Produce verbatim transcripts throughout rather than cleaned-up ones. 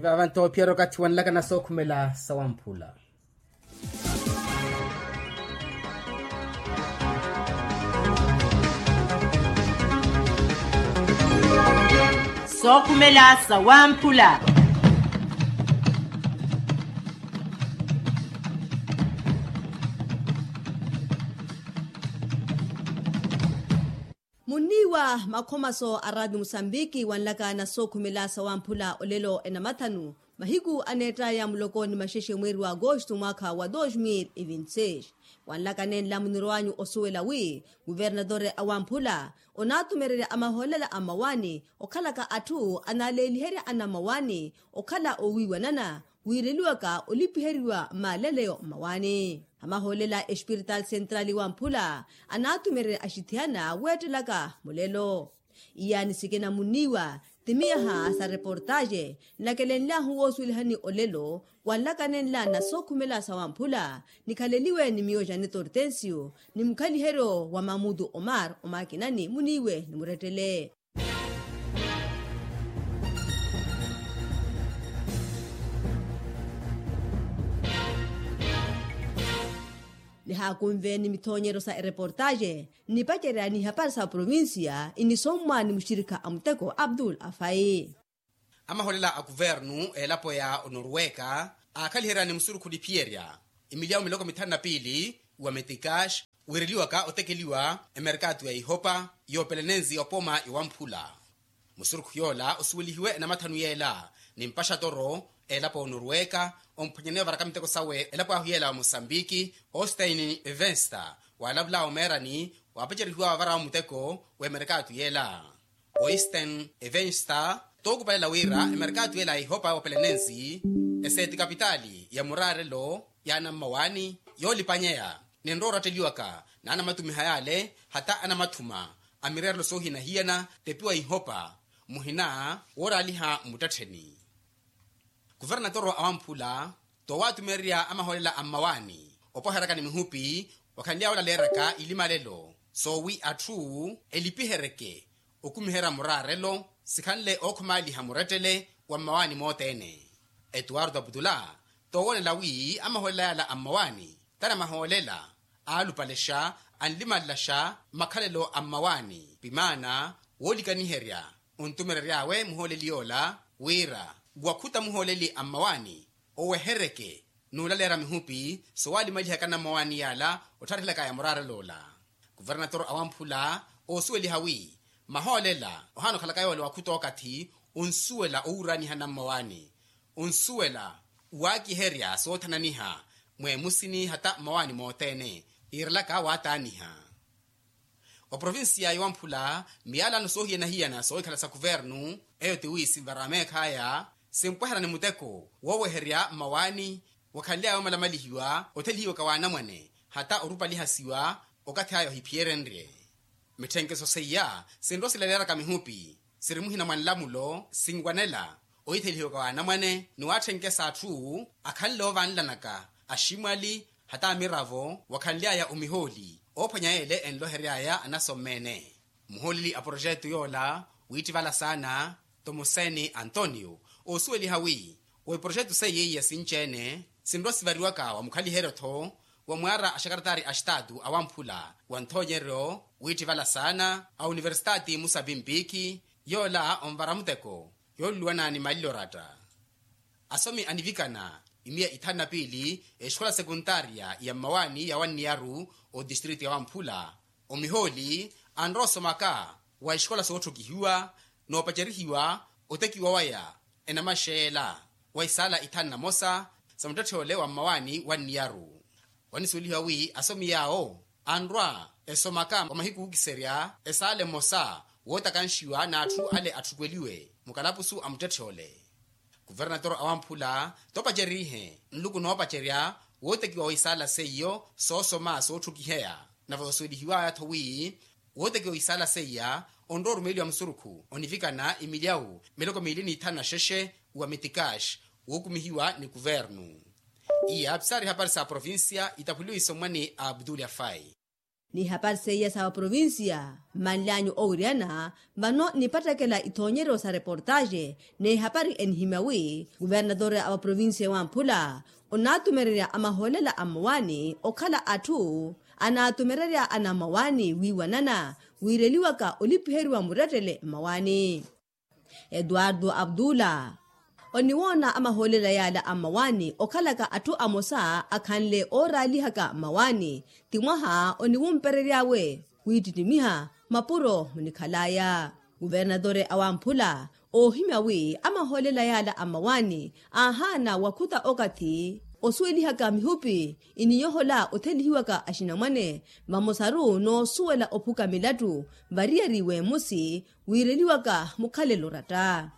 Vava nto ophiyerya okathi wanlaka na sookhumela sawamphula. Sookhumela sawamphula. Munniiwa makhomaso a raati musambiki wanlaka na sookhumela sawamphula olelo enamathanu, mahiku aneettaya muloko ni maxexe mweeri wa agosto mwaakha wa dos mil e vinti seis. Wanlaka nenla munirwanyu osuwela wi, kuvernatore awamphula onaatumererya amahoolela a mmawaani okhalaka atthu anaaleliherya anammawaani okhala owiiwanana, wiireliwaka olipiheriwa maaleleyo mmawaani. Amahoolela espirital central wamphula anaatumererya axithiyana weettelaka mulelo. Iyaani sikina munniiwa timiyaha sa reportaxe nnakelenlyahu woosuwelihani olelo, wanlaka nenla na sookhumela sawamphula nikhaleliwe ni miyo janeto ortensio ni mukhaliheryo wa mamutu omar omakinani muniiwe ni murettele. Nihaakunve ni mithoonyeryo sa ereportaxe nnipacerya ni ihapari sa provincia inisommwa ni muxirikha a muteko abdul afai. Amahoolela a kuvernu elapo ya onoruweka aakhaliherya ni musurukhu niphiyerya emilyawu miloko mithanu na piili wa metikax, wiireliwaka otekeliwa emerkatu ya ihopa yoopelenenzi opoma iwamphula. Musurukhu yoola osuwelihiwe enamathanu yeela ni mpaxatoro elapo onoruweka omphwanyaneya ovaraka miteko sawe elapo ahu yeela wa mosambiki ostein evensta, waalavula omeerani waapacerihiwa wavarawo muteko w'emerkatu yeela. Oisten evensta tookupalela wira emerkatu yeela ya ihopa yoopelenenzi eseeti kapitaali ya muraarelo ya anammawaani yoolipanyeya, nenrowa oratteliwaka na anamatumiha yaale hata anamathuma a mireerelo soohiyana-hiyana tepiwa ihopa muhina wooraaliha mmuttettheni. Kuvernatoro awamphula toowaatumererya amahoolela a mmawaani opoheraka ni mihupi wakhanly'awe olaleeraka ilimalelo soowi atthu elipiheryeke okumiherya muraarelo sikhanle ookhomaaliha murettele wa mmawaani mothene. Etuwarto aputula toowoonela wi amahoolela yaala a mmawaani t'anamahoolela aalupalexa anlimalexa makhalelo a mmawaani pimaana woolikaniherya ontumerery'awe muhooleli yoola wira wakhuta muhooleli a mmawaani oweheryeke n'ulaleera mihupi sowalimalihaka nammawaani yala ottharihilakaya muraarelo ola. Kuvernatoro awamphula oosuweliha wi mahoolela ohaana okhalaka yoola wakhuta okathi onsuwela owuraaniha nammawaani onsuwela waakiherya soothananiha mweemusini hata mmawaani mothene yiirelaka waataaniha. Oprovinsiya yowamphula miyalano soohiyana-hiyana soohikhala sa kuvernu eyo tiwi sinvara meekhaya simpwehana ni muteko wooweherya mmawaani wakhanly'aya omalamalihiwa othelihiwaka w'anamwane hata orupa alihasiwa okathi aya ohiphiyerenrye. Mitthenkeso seiya sinrosilaleeraka mihupi siri muhina mwa nlamulo sinwanela oyithelihiwaka w'anamwane ni waatthenke s'atthu akhanle oovanlanaka aximwali hata amiravo wakhanly'aya omihooli oophwanya yeele enlohery'aya anasommene. Muhooleli a poroxetu yoola wiittivala saana tomuseni antonio oosuweliha wi wa iporoxetu seiya iya sinci-ene sinrwa sivariwaka wa mukhaliheryo-tho wa mwaara a xakaratari a xitaatu awamphula wa nthoonyeryo wiittivala saana a universitaati musapimpiikhi yoola onvara muteko yooluluwana ni malilo oratta. Asomi anivikana imiya ithanu na piili exikola sekuntaariya ya mmawaani ya wanniyaru otistritu ya wamphula omihooli anrowa osomaka wa exikola sootthukihiwa noopacerihiwa otekiwa waya enamaxeela wa isaala ithanu na mosa sa muttetthe ole wa mmawaani wanniyaru. Wanisuwelihiwa wi asomi yaawo anrwa esomaka wa mahiku ookiserya esaala emosa wootakanxiwa n'atthu ale atthukweliwe mukalapusu a muttetthe ole. Kuvernatoro awamphula toopacerihe nluku noopacerya wootekiwa wa isaala seiyo soosoma sootthukiheya nave osuwelihiwaya-tho wi wootekiwa isaala seiya onrowa orumeeliwa musurukhu onivikana imilyawu miloko miili n'ithanu na xexe wa mitikax wookumihiwa ni kuvernu. Iya pisaari hapari sa provincia itaphuliwe isommwani a abdulya fai. N'ihapari seiya sa vaprovincia mmanlyanyu owiryana vano nipattakela ithoonyeryo sa reportaxe. N'ihapari enihimya wi kuvernatore a vaprovincia wamphula onaatumererya a mahoolela a mmawaani okhala atthu anaatumererya anammawaani wiiwanana wiireliwaka olipiheriwa murettele mmawaani. Etuwartu aptula oniwoona amahoolela yaala a mmawaani okhalaka atthu amosa akhanle ooraalihaka mmawaani ti mwaha oniwumperery'awe wiittittimiha mapuro munikhal'aya. Kuvernatore awamphula oohimya wi amahoolela yaala a mmawaani aahaana wakhuta okathi osuwelihaka mihupi iniyohola othelihiwaka axinamwane vamosaru n'osuwela ophuka milattu variyari w'emusi wiireliwaka mukhalelo oratta.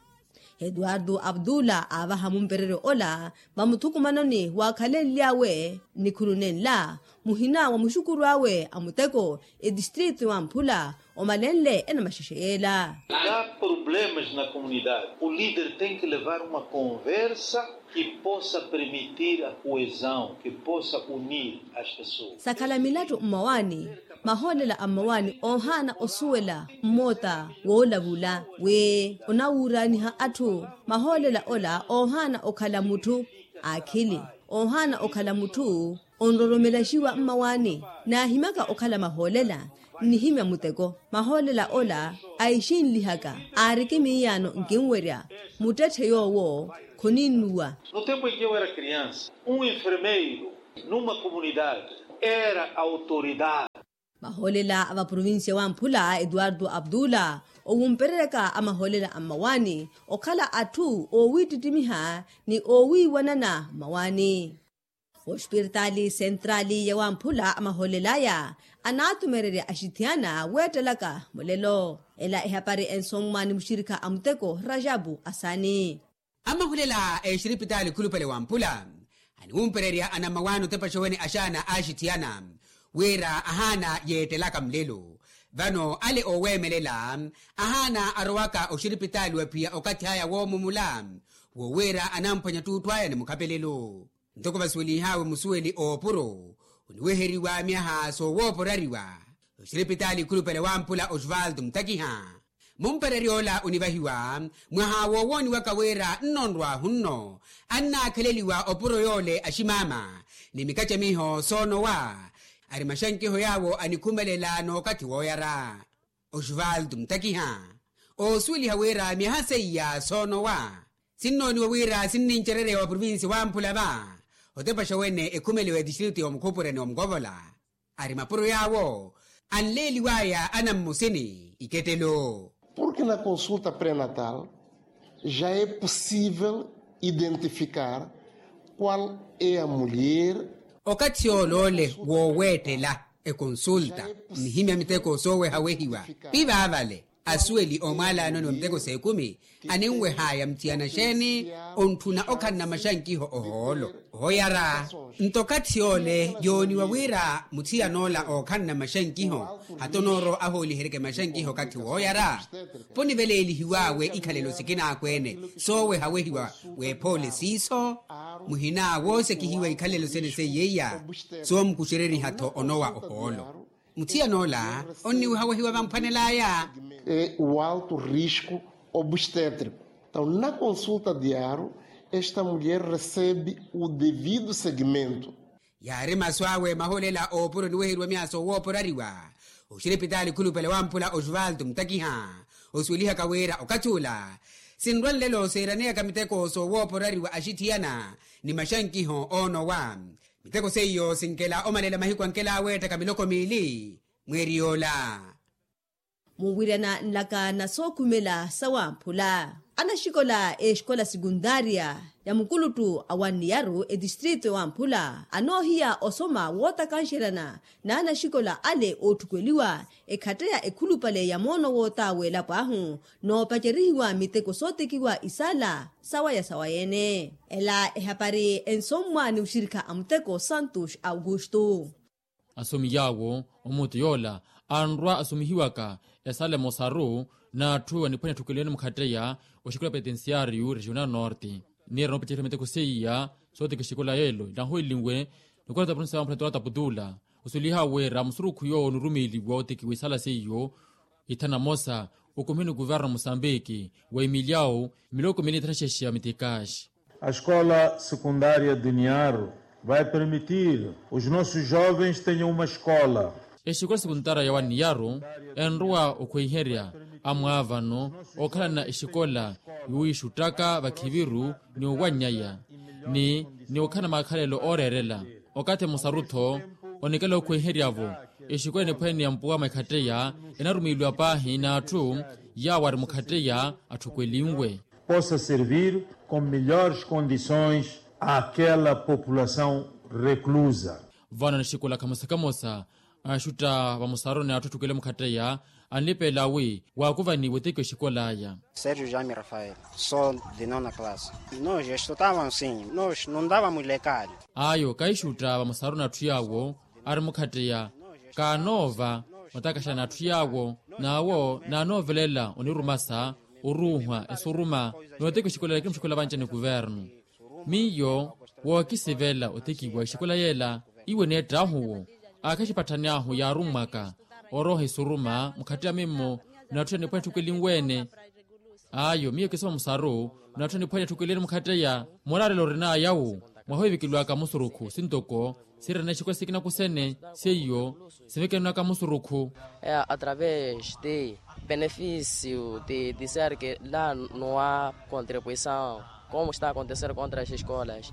Etuwartu aptula aavaha mumpereryo ola vamuthukumanoni waakhalenly'awe nikhunu nenla muhina wa muxukuru awe a muteko etistritu wamphula omalenle enamaxexe yeela. Ka problemas na komunidade o lider tenki levar uma konversa ki posa permitir a koezao ki posa unir as pessoas. Sakhala milattu mmawaani mahoolela a mmawaani oohaana osuwela mmoota woolavula wi onawuuraaniha atthu. Mahoolela ola oohaana okhala mutthu aakhili oohaana okhala mutthu onroromelaxiwa mmawaani naahimyaka okhala mahoolela. Nnihimya muteko mahoolela ola aixinlihaka aariki miiyaano nkinwerya muttetthe yoowo khoninnuwa. No tempu em que eu era criança um enfermeiro numa comunidade era autoridade. Mahoolela a vaprovincia wamphula etuwartu aptula owumpereryaka amahoolela a mmawaani okhala atthu oowiittittimiha ni oowiiwanana mmawaani. Ospiritaali sentrali ya wamphula amahoolel'aya anaatumererya axithiyana weettelaka mulelo. Ela ehapari ensommwa ni muxirikha a muteko rajapu asani. Amaholela a exiripitaali khulupale wamphula aniwumpererya anammawaani otepaxa wene axaana a axithiyana wira ahaana yeettelaka mulelo. Vano ale ooweemelela ahaana arowaka oxiripitaali wa phiya okathi aya woomumula wo wira anamphwanya ttuutthu aya ni mukhapelelo. Ntoko vasuwelinhaawe musuweli oopuro oniweheriwa myaha soowooporariwa oxiripitaali khulupale wamphula osvaldo mutakiha. Mumpererya ola onivahiwa mwaha woowooniwaka wira nnonrwahu nno annaakheleliwa opuro yoole aximaama ni mikacamiho soonowa ari maxankiho yaawo anikhumelela n'okathi wooyara. Osvaldo mutakiha oosuweliha wira myaha seiya soonowa sinnooniwa wira sinnincerereya wa provincia wamphula va otepaxa wene ekhumeliwa etistritu ya omukhupureni wa mukovola. Ari mapuro yaawo anleeliwaya anammusini ikettelo. Porque na consulta pré-natal já é possível identificar qual é a mulher. Okathi yoole ole wooweettela ekonsulta nnihimya miteko soowehawehiwa pivaavale asuweli oomwaalaanoni wa miteko s'ekumi aninwehaya muthiyana xeeni ontthuna okhanna maxankiho ohoolo. Ohooyara nto okathi yoole yooniwa wira muthiyan'ola ookhanna maxankiho hatonooro ahooliheryeke maxankiho okathi wooyara. Poniveleelihiw'awe ikhalelo sikina akweene soowehawehiwa w'ephoole siiso muhina woosekihiwa ikhalelo sene seiyeiya soomukuxereriha-tho onowa ohoolo. Muthiyan'ola onniwehawehiwa vamphwanel'aya. E o alto risco obstétrico. Então na consulta diário esta mulher recebe o devido segmento. Yaari masu awe maholela oopuro oniweheriwa myaha soowooporariwa oxiripitaali khulupale wamphula osvaldo mutakiha osuwelihaka wira okathi ula sinrwa nlelo seeraneyaka miteko soowooporariwa axithiyana ni maxankiho oonowa. Miteko seiyo sinkela omalela mahiku ankela aweettaka miloko miili mweeri yoola. Muwiryana nlaka na sookhumela sawamphula anaxikola exikola sikuntaariya ya mukuluttu a wanniyaru etistritu ewamphula anoohiya osoma wootakanxeryana n'anaxikola ale ootthukweliwa ekhatteya ekhulupale ya moono wootaawa elapo ahu noopacerihiwa miteko sootekiwa isaala sawaya sawayeene. Ela ehapari ensommwa ni muxirikha a muteko santos augusto. Asomi yaawo omuutu yoola anrwa asomihiwaka esaala emosaru n'atthu aniphwanya etthukeliwene mukhatteya oxikola petensiariyu regional norte. Niira noopaceriha miteko seiya sootekixikola yeelo nahowelinwe nikola tapunsa wamphula ntola taputula Osuliha wira musurukhu yoowo onurumiiliwa otekiwa isaala seiyo ithana mosa, okumihe ni kuvernu musambiki wa emiliawu miloko mili ithana xexe ya mitikaxi. A escola secundaria de niaro vai permitir os nossos jovens tenham uma escola. Exikola sekuntara ya waniyaru enrowa okhweiherya amwaavano okhalana exikola yuwiixuttaka vakhiviru ni owannyaya ni ni okhalana makhalelo ooreerela. Okathi musaru-tho onikela okhweiherya-vo exikola eniphwene ya mpuwa mwa ekhatteya enarumiiliwa paahi n'atthu yaawo ari mukhatteya atthukwelinwe. Possa servir com melhores condições àquela população reclusa. Vano nixikola kamosa kamosa axutta vamusaruni atthu atthukele mukhatteya anlipeela wi waakuvaniwe otekiwa exikola aya. Sergio jami rafael, sou de nona classe. Nos estutávamos sim, nos não dávamos lecalho. Ayo kaixutta vamusaruni atthu yaawo ari mukhatteya kaanoova otakaxana atthu yaawo n'awo naanoovelela onirumasa oruuhwa esuruma n'otekiwa exikola lakini muxikola vanci ni kuvernu. Miyo wookisivela otekiwa exikola yeela iwe neettaahuwo aakhaxipatthani ahu yaarummwaka orooha esuruma mukhatteya mimmo n'atthu eniphwene atthukwelinwe-ene. Ayo miyo kisiva musaru n'atthu eniphwene atthukwelinwe-ene mukhatteya muraarelo orinaaya wu mwaha ohivikeliwaka musurukhu sintoko sirina exikola sikina kusene seiyo sivekenwaka musurukhu. Através de benefício de dizer que lá não há contribuição como está a acontecer contra as escolas.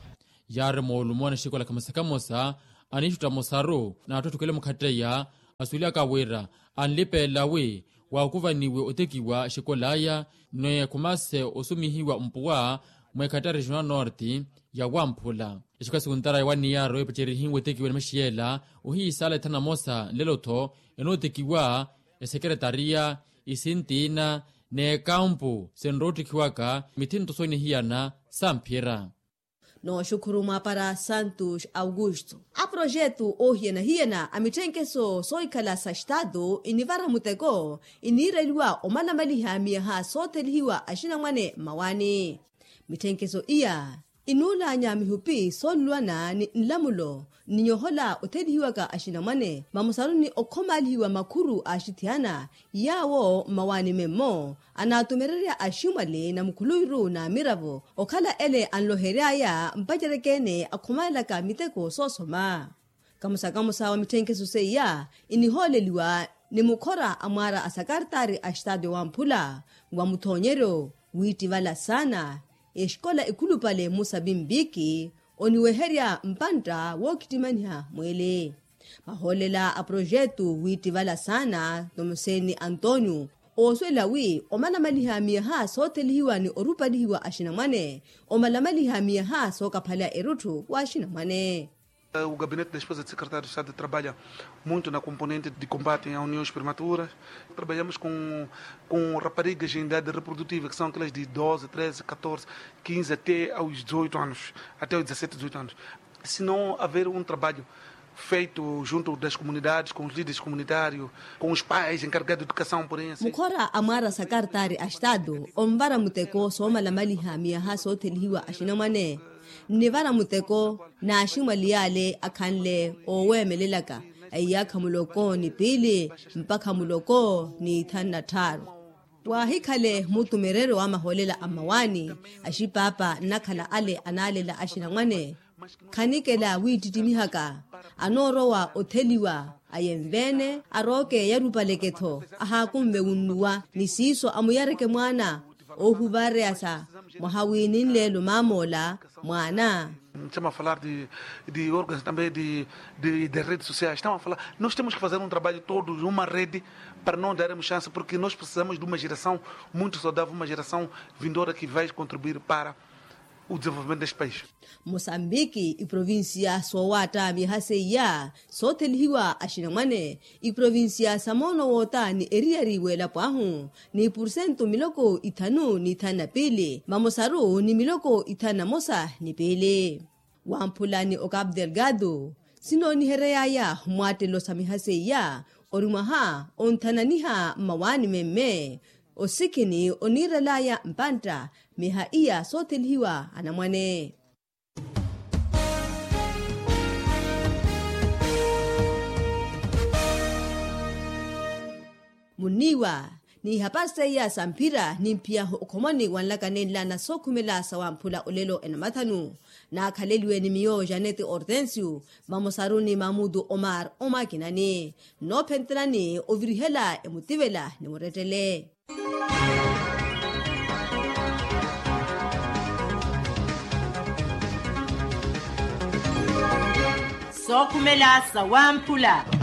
Yaari moolumo na exikola kamosa kamosa aniixutta musaru n'atthu atthukele mukhatteya asuwelihaka wira anlipeela wi waakuvaniwe otekiwa exikola aya ni khumase osumihiwa mpuwa mwa ekhattari regional norte ya wamphula. Exikola sekuntara ya waniyaro epacerihiwe otekiwa ni maxiyela ohiisaala ithana mosa nlelo-tho enootekiwa esekeretariya isintiina n'ekampu sinroottikhiwaka mithinto soonihiyana samphira. Nooxukhuru mwaapara santos augusto. Aprojetu oohiyana-hiyana a mitthenkeso soohikhala sa estatu inivara muteko iniireliwa omalamaliha miyaha soothelihiwa axinamwane mmawaani. Mitthenkeso iya inuulaanya mihupi soonluwana ni nlamulo ni nyohola othelihiwaka axinamwane vamusaruni okhomaalihiwa makhuru a axithiyana yaawo mmawaani memmo anaatumererya aximwali na mukhuluwiru n'amiravo okhala ele anlohery'aya mpacereke-ene akhomalelaka miteko soosoma. Kamosa kamosa wa mitthenkeso seiya inihooleliwa ni mukhora a mwaara a sakartaari a estatu wamphula wa muthoonyeryo wiittivala saana exikola ekhulupale mmusa pimpiki oniweherya mpantta wookhittimaniha mweele. Mahoolela a projetu wiittivala saana tomuseni antonio oosuwela wi omalamaliha miyaha soothelihiwa ni orupalihiwa axinamwane omalamaliha miyaha sookaphaleya erutthu w'axinamwane. O gabinete da esposa de secretário de estado trabalha muito na componente de combate a uniões prematuras. Trabalhamos com com raparigas em idade reprodutiva que são aquelas de doze treze catorze quinze até aos dezoito anos, até aos dezassete dezoito anos. Se não haver um trabalho feito junto das comunidades com os líderes comunitários, com os pais encarregados de educação porém assim. Mukhora a mwaara sakartaari a estatu onvara muteko soomalamaliha miyaha soothelihiwa axinamwane nnivara muteko n'aximwali yaale akhanle ooweemelelaka a iyaakha muloko ni piili mpakha muloko ni ithanu na tthaaru. Waahikhale mutumereryo wa mahoolela a mmawaani axipaapa nnakhala ale anaalela axinamwane khanikela wiittittimihaka anoorowa otheliwa ayenve-ene arooke yarupaleke-tho ahaakunve wunnuwa ni siiso amuyareke mwaana oohuvareyasa mwaha wiininleelo maamoola mwaana. Estamos a falar de órgãos também de redes sociais estamos a falar nós temos que fazer um trabalho todos uma rede para não darmos chance porque nós precisamos de uma geração muito saudável uma geração vindoura que vai contribuir para o desenvolvimento deste país. Mosambiki iprovincia soowaatta miyaha seiya soothelihiwa axinamwane iprovincia sa moono woota ni eriyari w'elapo ahu ni pursentu miloko ithanu ni ithanu na piili vamosaru ni miloko ithanu na mosa ni piili. Wamphula ni ocapu delgado sinoonihery'aya mwattelo sa miyaha seiya ori mwaha onthananiha mmawaani memme osikhini oniirel'aya mpantta miyaha iya soothelihiwa anamwane. munniiwa n'ihapari seiya sa mphira nimphiyahu okhomoni wanlaka nenla na sookhumela sa wamphula olelo enamathanu. Naakhaleliwe ni miyo janete hortensio, vamosaru ni mamutu omar omakinani, nnoophentelani ovirihela emutivela ni murettele. Sookhumela sa wamphula.